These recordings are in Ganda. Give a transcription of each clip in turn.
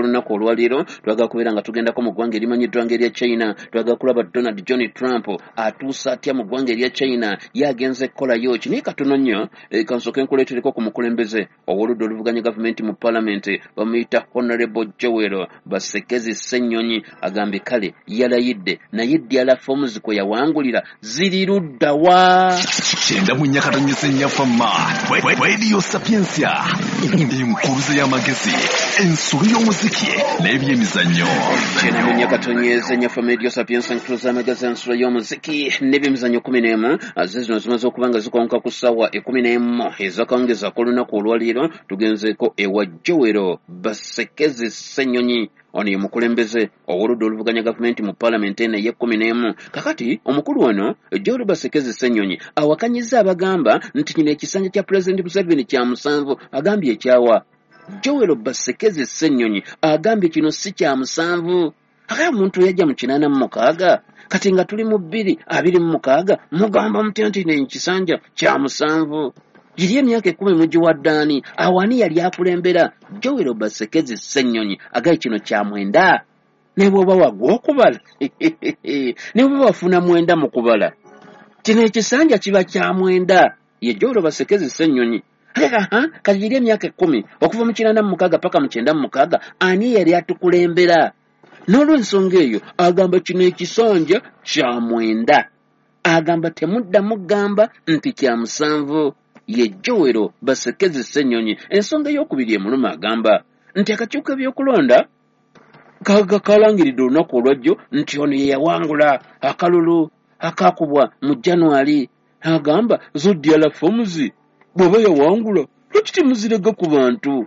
k'olunaku olwaleero twagala kubeera nga tugendako mu ggwanga erimanyiddwa ng'erya China. Twagala kulaba Donald John Trump atuusa atya mu ggwanga erya China, ye agenze kukolayo ki. Naye katono nnyo, kansooke nkuleetereko ku mukulembeze ow'oludda oluvuganya gavumenti mu paalamenti, bamuyita Honorable Joel Basekezi Ssennyonyi. Agambye kale yalayidde, naye ddala forms kwe yawangulira ziri ludda wa? 94.4 Fama Radio Sapientia, enkuluze y'amagezi, ensolo y'omuziki n'ebyemizannyo. 94.4 Fama Radio Sapientia, enkuluze y'amagezi, ensolo y'omuziki n'ebyemizannyo. 11 ze zino zimaze okuba nga zikonka ku ssaawa 11 ez'akawungeezi ak'olunaku olwaleero. Tugenzeeko ewa Joel Basekezi Ssennyonyi. Ono ye mukulembeze ow'oludda oluvuganya gavumenti mu paalamenti eno ey'e-11. Kakati omukulu ono Joel Basekezi Ssennyonyi awakanyizza abagamba nti kino ekisanja kya Pulezidenti Museveni kya 7. Agambye ekyawa. Joel Basekezi Ssennyonyi agambye kino si kya 7. Akaye omuntu yajja mu 86, kati nga tuli mu 2026, mugamba mutya nti ekisanja kya 7? Giri emyaka 10 mugiwadde ani? Awo ani yali akulembera? Joel Basekezi Ssennyonyi agaye kino kya 9. Ne bw'oba wagwa okubala, ne bw'oba wafuna 9 mu kubala, kino ekisanja kiba kya 9. Ye Joel Basekezi Ssennyonyi. Kati giri emyaka 10 okuva mu 86 paka mu 96, ani yali atukulembera? N'olw'ensonga eyo agamba kino ekisanja kya 9. Agamba temuddamu gamba nti kya 7. Ye Joel Basekezi Ssennyonyi. Ensonga ey'okubiri emuluma, agamba nti akakiiko k'ebyokulonda kalangiridde olunaku olwajjo nti ono ye yawangula akalulu akaakubwa mu January. Agamba zo DR forms bw'aba yawangula, lwaki temuzirega ku bantu?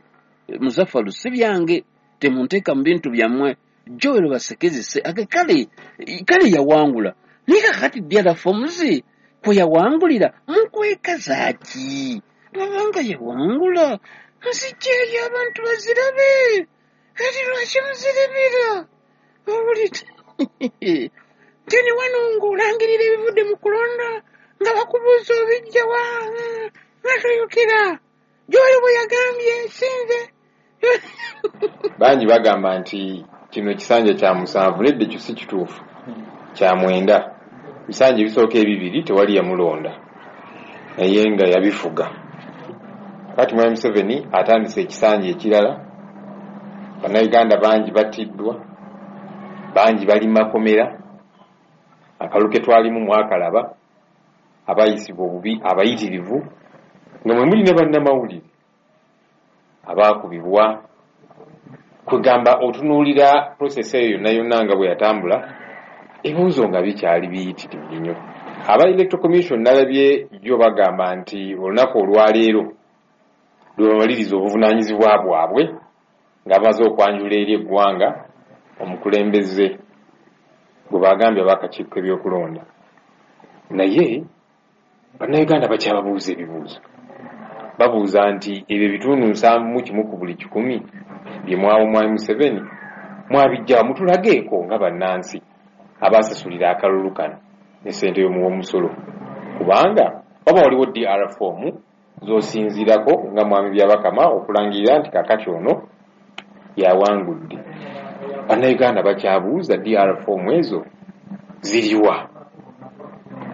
Muzafalu, si byange, temunteeka mu bintu byammwe. Joel Basekezi se age kale kale yawangula, naye kakati DR forms kwe yawangulira mukwekaza ki? Bw'abanga yawangula, nzijjeeyo abantu bazirabe. Kati lwaki muzirabira? Owulidde teni wano ng'olangirira ebivudde mu kulonda nga bakubuuza obijjawa, nga toyogera. Joel bwe yagambye nsinze. Bangi bagamba nti kino ekisanja kya 7. Nedda, ekyo si kituufu, kya 9. Ebisanja ebisooka ebibiri tewali yamulonda, naye nga yabifuga. Kati Mwami Museveni atandise ekisanja ekirala. Bannayuganda bangi battiddwa, bangi bali makomera. Akalulu ke twalimu mwakalaba, abayisibwa obubi abayitirivu, nga mwe muli ne bannamawulire abaakubibwa. Kwegamba otunuulira process eyo yonna yonna nga bwe yatambula, ebibuuzo nga bikyali biyitirivu nnyo. Aba Electoral Commission nalabye jjo bagamba nti olunaku olwaleero lwe bamaliriza obuvunaanyizibwa bwabwe nga bamaze okwanjula eri eggwanga omukulembeze gwe bagambye ab'akakiiko k'ebyokulonda. Naye Bannayuganda bakyababuuza ebibuuzo. Babuuza nti ebyo ebitundu 71 ku buli 100 bye mwawa Mwami Museveni mwabijjawa? Mutulageeko nga bannansi abasasulira akalulu kano ne ssente y'omuwa omusolo, kubanga waba waliwo DR form z'osinziirako nga Mwami Byabakama okulangirira nti kakati ono yawangudde. Bannayuganda bakyabuuza, DR form ezo ziriwa?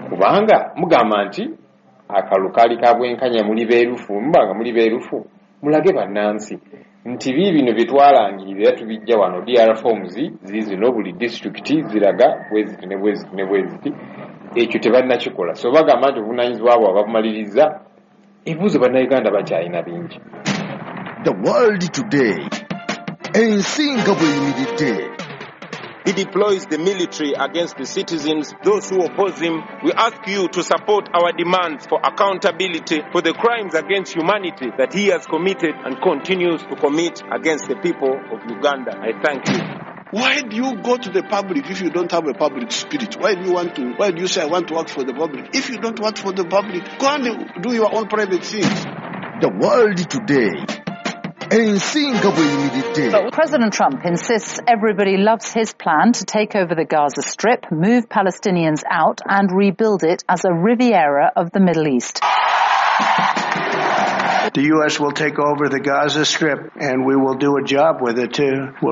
Kubanga mugamba nti akalulu kaali ka bwenkanya, muli beerufu. Muba nga muli beerufu, mulage bannansi nti biibino bye twalangirira era tubijja wano, DR forms ziizino, buli disitulikiti ziraga bweziti ne bweziti ne bweziti. Ekyo tebannakikola. So bagamba nti obuvunaanyizibwa bwabwe babumaliriza, ebibuuzo Bannayuganda bakyalina bingi. The World Today, ensi nga bw'eyimiridde. He deploys the military against the citizens, those who oppose him. We ask you to support our demands for accountability for the crimes against humanity that he has committed and continues to commit against the people of Uganda. I thank you. Why do you go to the public if you don't have a public spirit? Why do you want to, why do you say I want to work for the public? If you don't work for the public, go and do your own private things. The World Today, ensi nga bw'eyimiridde. President Trump insists everybody loves his plan to take over the Gaza Strip, move Palestinians out and rebuild it as a Riviera of the Middle East. The U.S. will take over the Gaza Strip and we will do a job with it too. We'll